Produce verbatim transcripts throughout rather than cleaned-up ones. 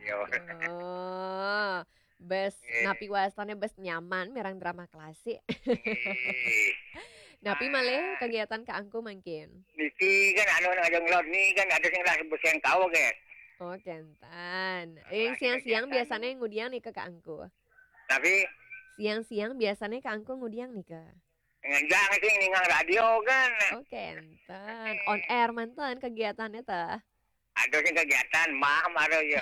Yo. Oh, bes, napi wastane bes nyaman mireng drama klasik. Napi malih kegiatan Kak Angku mangkin? Niki kan anu nang aja ngelod ni kan ada sing lah bes yang kau ke. Oh, kenten. Yang siang-siang biasanya ngudiang nika Kak Angku? Tapi siang-siang biasanya Kak Angku ngudiang nika? Ngenjang sih ningang radio kan. Oh, kenten. On air manten kegiatannya teh? Ada sih kegiatan mah mara ya.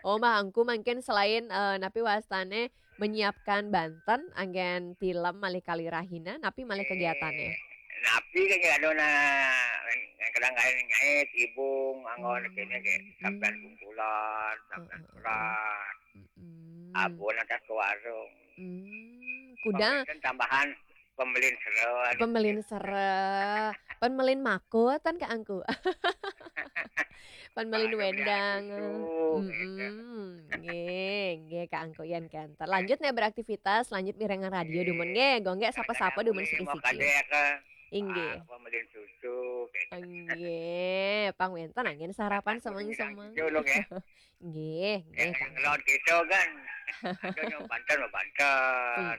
Oh, Mbah Angku mungkin selain eh, napi wastane menyiapkan banten anggen tilem malih kalih rahina, napi malih kegiatannya? Napi kan ya ada na kadang-kadang ngait ibung anggon kene ke sampean kumpulan, sampean peran. Abon atas ke warung. Hmm, kuda. Kan tambahan pembelin seret. Pembelin seret. Pembelin makut kan Kak Angku. Pembelin wendang. Nggih, nggih Kak Angku yan kenten. Lanjut nih beraktivitas, lanjut mirengan radio dumun nggih. Gongge sapa-sapa dumun siki-siki. Inggih. Pembelin susu. Nggih, pang wenten angin sarapan semeng-semeng. Nggih, nggih. Ngelon kita kan. Ada yang banten, banten.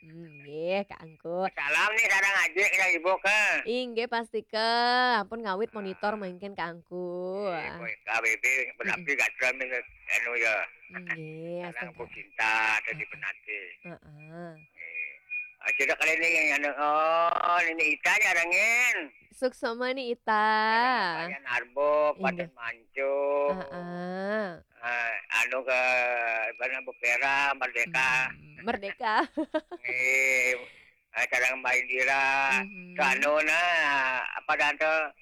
Nggih, Kak Angku. Salam nih sareng adik ya ibu ke. Inggih pasti ke. Ampun ngawit monitor mungkin Kak Angku. K B B berarti gatra anu ya. Nggih, sareng Bu Cinta tadi penate. Heeh. Sida kali ini yang anu, oh, ini Ita nyarengin. Suksma ni Ita. Bayan Arbok, Badan Manco. Heeh. Anu ke mana Bukera, Merdeka. Merdeka. Nggih. Sareng Mbak Indira. Ke anu nah, apa dan tuh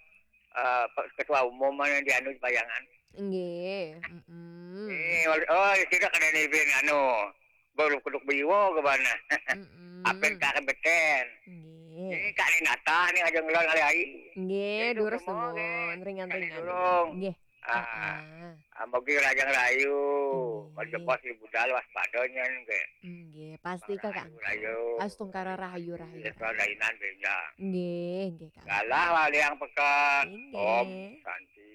ketua umum mana di anu bayangan. Nggih. Mm-mm. Eh, oh, tidak ada ni bin anu. Baru kuduk biwo ke mana. Mm-mm. Apa yang tak beten. Nggih. Ini Kak Ninata ni aja ngelon kali ai. Nggih, durus semua, ringan-ringan. Nggih. Ah, amogi rajang rayu. Nggih. Kalau jebos di budal waspadanya nggih. Nggih, pasti Kakak. Rayu. Astungkara rahayu rahayu. Dainan benjang. Nggih, nggih Kak. Galah waliang pekat. Nggih. Om Santi.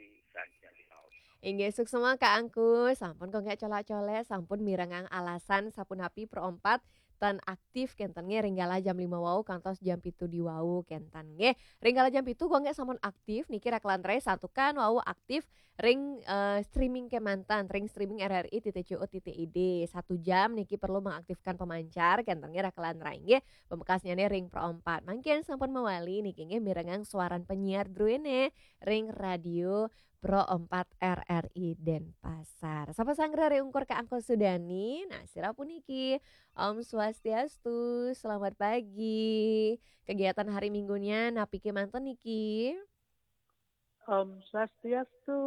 Inggih, suksma Kak Angku, sampun kok nggak colak-colek, sampun mirengang alasan sapunapi Pro empat tan aktif kenten nggih ring galah jam lima wau kantos jam pitu di wau kenten nggih. Ring galah jam pitu kok nggak sampun aktif niki rak lantaran santukan wau aktif ring eh, streaming kemanten ring streaming R R I titik C O titik I D. Satu jam niki perlu mengaktifkan pemancar kenten nggih rak lantaran nggih. Pemekasnya nih ring Pro empat. Mangkin sampun mawali niki nggih mirengang suaran penyiar druene ring radio Pro empat R R I Denpasar. Sapa sanggra ri ungkur Kak Angku Sudani? Nah, sira puniki. Om Swastiastu, selamat pagi. Kegiatan hari Minggunya napi kemanten niki? Om Swastiastu.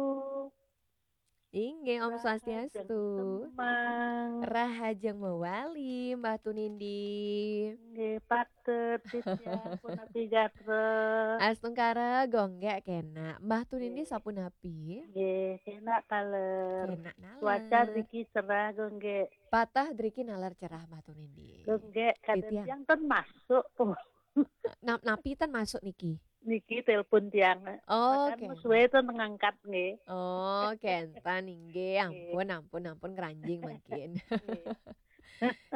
Inggih, Om Swastiastu. Rahajeng mawali, Mbah Tunindi. Nggih, patut, Ditya, punapi gatra. Astungkara, gonggek kena. Mbah Tunindi sapunapi? Nggih, kena taler. Kena naler. Cuaca driki cerah, gonggek. Patah driki naler cerah, Mbah Tunindi. Gonggek, kadang tiang ten masuk. Nap-, napi ten masuk niki? Niki telepon tiang. Oh, oke. Suwe ten ngangkat nggih. Oh, kenten inggih. Ampun, ampun, ampun keranjing mungkin.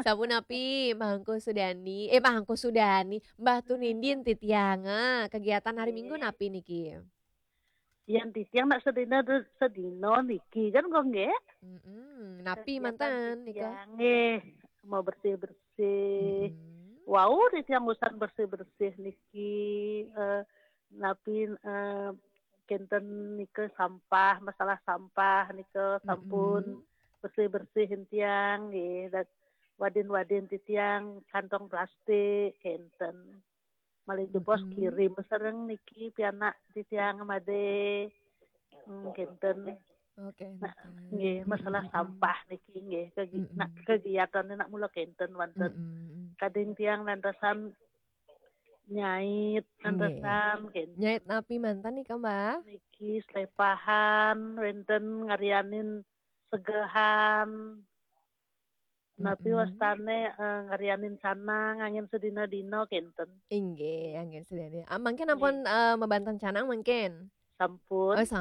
Sapunapi, Mbah Angku Sudani, eh Mbah Angku Sudani, Mbah Tunindin titiang. Ah, kegiatan hari Minggu napi niki? Yang titiang nak sedina sedina niki kan kok nggih? Mm-mm. Napi manten nika? Nggih, mau bersih-bersih. Mm-mm. Wau titiang usan bersih-bersih niki eh, napi eh, kenten nika sampah, masalah sampah nika sampun bersih-bersih tiang nggih. Dan wadin-wadin titiang kantong plastik kenten. Malih jebos kirim sareng niki pianak titiang made. Hmm, kenten. Oke. Nah, nggih, masalah sampah niki nggih kegi-, nak kegiatan nak mula kenten wonten. Kadang tiang nandasan nyait, nandasan kenten. Nyait napi manten nika, Mbah? Niki slepahan, wenten ngarianin segehan. Napi wastane eh, ngarianin canang angin sedina-dina kenten. Inggih, angin sedina. Ah, mungkin ampun eh, mabanten canang mungkin. Sampun. Oh,